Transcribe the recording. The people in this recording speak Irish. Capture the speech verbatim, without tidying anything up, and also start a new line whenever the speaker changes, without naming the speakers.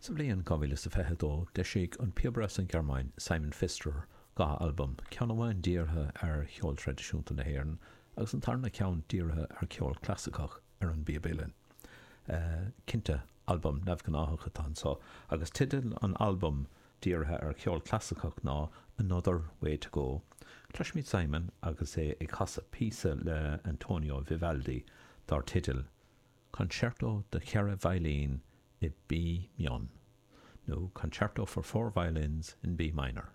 Sa bhliain dhá mhíle is a fiche a dó, d'eisigh an píobaire as an Ghearmáin, Simon Pfisterer, dhá albam, ceann amháin dírithe ar cheol traidisiúnta na hÉireann agus an tarna ceann dírithe ar cheol clasaiceach ar an bpíob uilleann. Cinnte, albam neamhghnáthach atá anseo, agus teideal an albaim dírithe ar cheol clasaiceach ná Another Way to Go. Cloisfimid Simon agus é ag casadh píosa le Antonio Vivaldi dar teideal Concerto do cheithre veidhlín i B mion, nó Concerto for Four Violins in B minor.